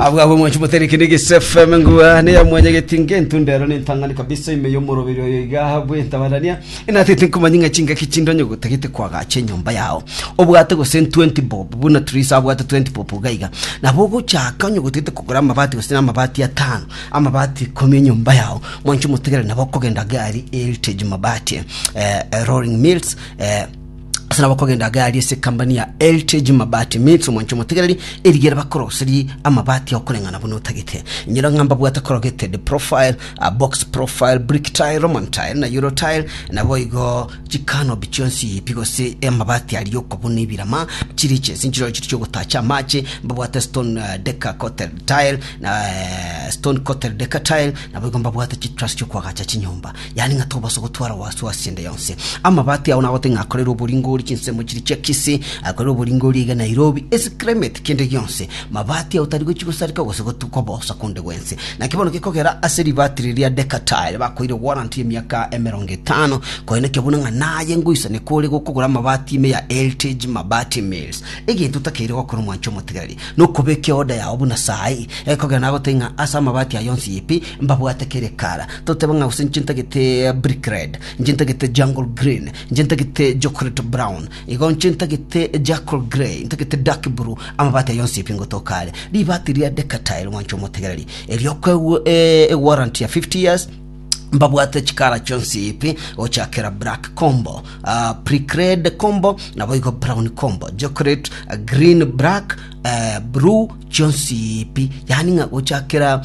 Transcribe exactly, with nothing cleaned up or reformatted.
Abwo abo mwanchi motereke ni G S F M ngua ne ya mwanyegeti ngentundero nentang'ani kabisa ime y'omoroberi oyo iga bwentabarania enatete nkomanya ng'a chingaki chindonyo gotagete kwagacha enyomba yao obwate gose twenty bob buna Trisa abwate twenty bob gaiga nabo ogochaka onye gotagete kogora amabati gose na amabati atano, amabati ikomi enyomba yao. Mwanchi motegere, nabo okogenda gari Heritage Mabati eh, eh, Rolling Mills eh, ase nabo kogenda gari ase company ya Heritage Mabati Mills. Omwancho omotegereri, erigere bakoroseri amabati okoreng'ana buna otagete. Inyora ng'a mbabwate corrugated profile, uh, box profile, brick tile, Roman tile na euro tile, nabo igo chikanobi chionsi pi gose amabati ari okobuna ebirama chiri chesi nchiro chiri chiogotacha amache. Mbabwate stone uh, decker coated tile na uh, stone coated decker tile, nabo igo mbabwate chitruss chiokwagacha chinyomba, yani ng'a tobasa gotwara wasiwasi ende yonse. Amabati ao nagote ng'akorera oboringori chinsemo chiri chia Kisii, akorera oboringori iga Nairobi, ase climate kende gionse mabati ao tari gochi gosareka gose gotukobosa konde gwense. Naki bono gekogera ase ribati riria decker tile bakoire warranty emiaka emerongo etano, koene buna ng'a naye ngoisane kore gokogora amabati ime ya Heritage Mabati Mills. Egento takeire gokora, omwancho omotegereri, nokobeka order yao buna sai ekogera nagote ng'a ase amabati ayo onsi ipi mbabwate kere kara toteba ng'a gose nche ntagete brick red, nche ntagete jungle green, nche ntagete chocolate brown, igo nche ntagete jackal grey, ntagete dark blue, amabati ayo onsi ipi ngotokare ribati ria decker tile. Mwancho omotegereri, eriokoegwa e warranty ya fifty years. Mbabwate chikara chionsi ipi gochakera black combo, uh, brick red combo, nabo igo brown combo, chocolate, uh, green, black, uh, blue chionsi ipi, yani ng'a gochakera